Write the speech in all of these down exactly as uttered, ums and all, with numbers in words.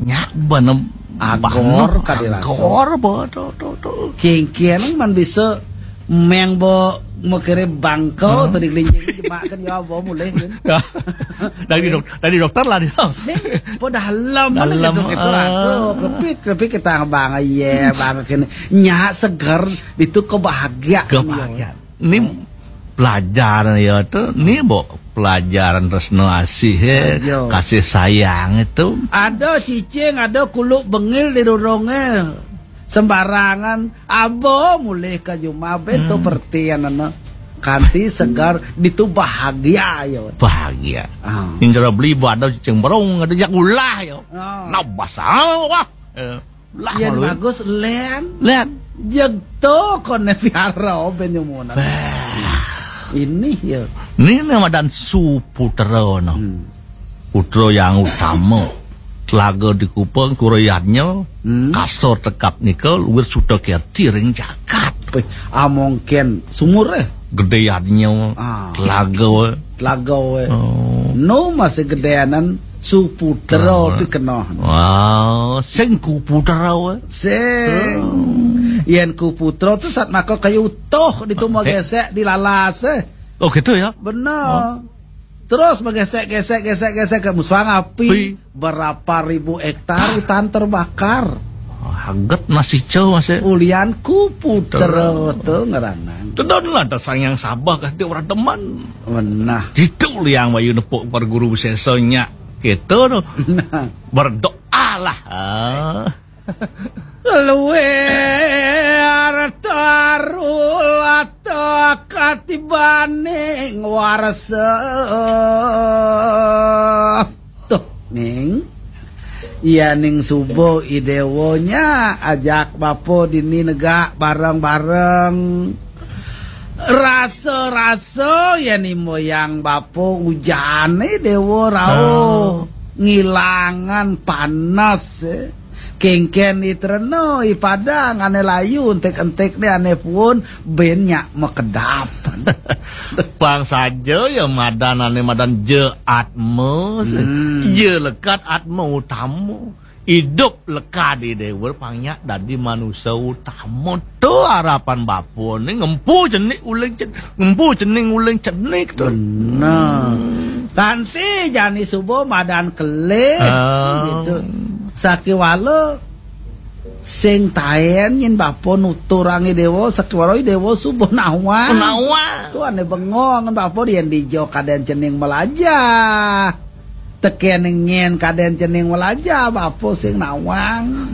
Nyak benem agor ka dirasa. Agor ba to to to. Kengkeng man bisa meng ba makere bangko tadi kelinci jemakan ya ba mulih kan. Dari dok dari dokter lah dia. Sing po dalam mana gitu gitu aduh krepit krepit kita bang ya bang kene nyak seger itu kebahagiaan. Kebahagiaan. Ini pelajaran ya tu ni bo pelajaran resno asih eh, kasih sayang itu. Ada cicing ada kuluk bengil di rurunge sembarangan abo mulih ke jumah ben tu pertian ana kanti segar ditu bahagia ya. Bahagia. Ah. Indra beli bo ada cicing berung ada jak ulah ya. Ah. Nabas ah wah. Eh. Lah, yen bagus len. Len. Jeg to kone piara ben nyumunan. Ini ya. Ini nama dan su putra no. Hmm. Putra yang utama. Telaga di Kupang, kurayatnya, hmm. Kasor tekap nika, luwir suta kerti ring jagat. Wih, amongken sumur eh. Gedeyatnya, ah. Telaga. Telaga eh. Oh. No masih gedeanan Suputra oh. Pi kena. Wah, sing kuputra weh. Sing. Oh. Yen kuputra tu sat maka kayu utuh ditu mau gesek dilalas eh. Oh gitu ya. Benar. Oh. Terus menggesek gesek gesek gesek ke musang api. Pi. Berapa ribu hektar hutan terbakar. Oh, haget nasi cau masih. Ulian kuputra tu ngeranang. Tedon lah dasar yang sabah kasih orang teman. Menah. Ditu liang wayu nepuk perguru sesanya. Gitu tu. Berdoalah. Ah. Luwih arta rulata katibaning warsa. Tuh, Ning. Iya ning subuh idewonya ajak bapa dini negak bareng-bareng. Rasa-rasa ya ni moyang bapa ujane dewa rauh. Oh. Ngilangan panas eh. Kengken itreno ipadang ane layu entek-entek ne ane pun ben nyak mekedap. Pang saja ya madan ane madan je atma. Hmm. Je lekat atma utama. Idup leka di dewa pangnya dadi manusia utama. Tu harapan bapa ni ngempu cenik uling cenik, ngempu cening uling cenik tu. Benar. Kanti jani subuh madan kelih ah. Gitu. Sakiwala sing taen nyin bapa nuturang i dewa sakiwala i dewa subuh nawang. Nawang. Tu ane bengong bapa dien dijo kaden cening melajah. Teken ngen kaden cening melajah bapa sing nawang.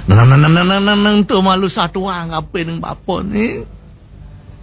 Nang nang nang nang nang nang tu malu satuang apa ning bapa ni.